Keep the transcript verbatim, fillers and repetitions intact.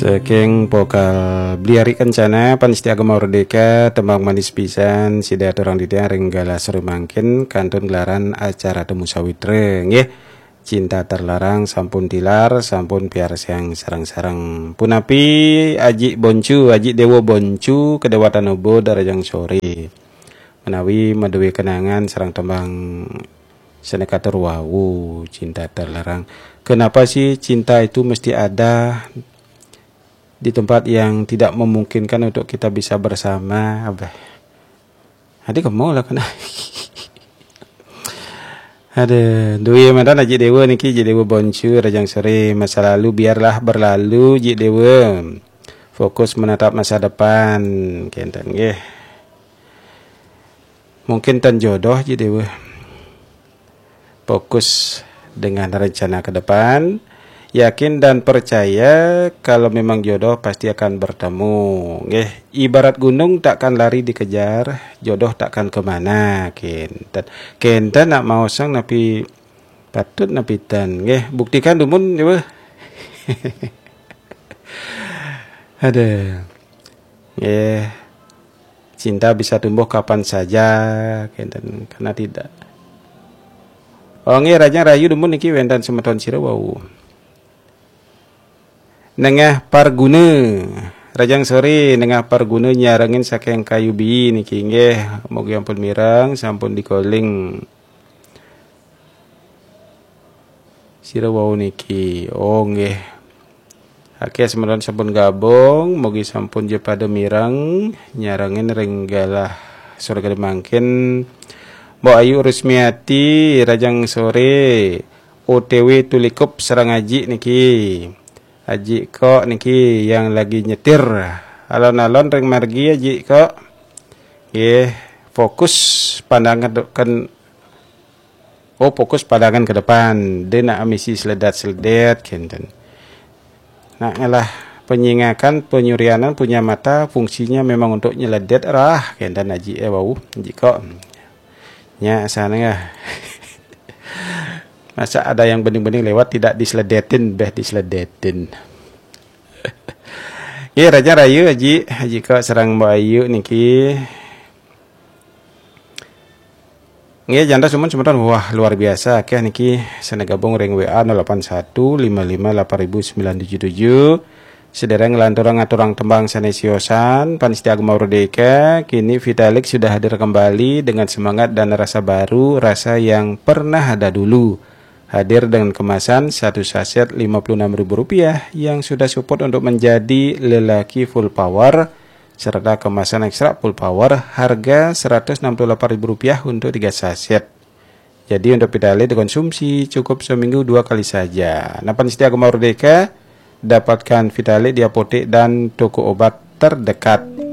Saking pokal Bliari Kencana, Pan Setia Agama Merdeka, tembang manis pisan, sida aturang titiang ring galah sore mangkin, kantun gelaran acara Temu Sawitra, nggih. Cinta Terlarang sampun tilar, sampun piarsiang sareng-sareng. Punapi Aji Boncu, Aji Dewa Boncu, kedewatan Ubud, rahajeng sore. Menawi madué kenangan sareng tembang sane katur wau, Cinta Terlarang. Kenapa sih cinta itu mesti ada di tempat yang tidak memungkinkan untuk kita bisa bersama? Abah. Adi kamu lah kena. Ada duwe mantan Aji Dewa niki, Aji Dewa Boncu, rahajeng sore. Masa lalu biarlah berlalu, Aji Dewa. Fokus menatap masa depan, kenten nggih. Mungkin ten jodoh, Aji Dewa. Fokus dengan rencana ke depan. Yakin dan percaya kalau memang jodoh pasti akan bertemu. Nggih, ibarat gunung takkan lari dikejar, jodoh takkan kemana. Kenten. Kenten nak maosang napi patut napi ten. Nggih, buktikan dumun, Dewa. Ada. Nggih. Cinta bisa tumbuh kapan saja, kenten, karena tidak. Oh, nggih, rahajeng rahayu dumun niki wenten semeton sira wau. Nengah Parguna. Rahajeng sore, Nengah Parguna nyarengin saking Kayu Bii niki, nggih. Mugi ampun mireng, sampun dikoling. Sira wau niki. Oh, nggih. Akeh semeton sampun gabung, mugi sampun ja pada mireng, nyarengin ring galah sore mangkin. Mbok Ayu Rusmiati, rahajeng sore, O T W Tulikup sareng Aji niki. Aji Kok niki yang lagi nyetir. Alon-alon ring margi, Aji Kok. Nggih, fokus pandangan ke, oh, fokus pandangan ke depan. Dia nak misi seledat-seledet, kenten. Nak ngelah penyingakan, penyurianan punya mata, fungsinya memang untuk nyeledet rah, kenten Aji, eh, wau, Aji Kok. Nya sana ya. Masa ada yang bening-bening lewat tidak diseledetin, beh diseledetin. Nggih, rahajeng rahayu, Aji, Aji Kok sareng Mbok Ayu niki. Nggih, jantos dumun semeton, wah, luar biasa akeh niki sane gabung ring W A nol delapan satu lima lima delapan ribu sembilan tujuh tujuh. Sedereng nglanturang ngaturang tembang sane siosan, Pan Setia Agama Merdeka, kini Vitalik sudah hadir kembali dengan semangat dan rasa baru, rasa yang pernah ada dulu. Hadir dengan kemasan satu saset lima puluh enam ribu rupiah yang sudah support untuk menjadi lelaki full power, serta kemasan ekstra full power harga seratus enam puluh delapan ribu rupiah untuk tiga saset. Jadi untuk Vitalik dikonsumsi cukup seminggu dua kali saja. Nah, Pan Setia Agama Merdeka, dapatkan Vitalik di apotek dan toko obat terdekat.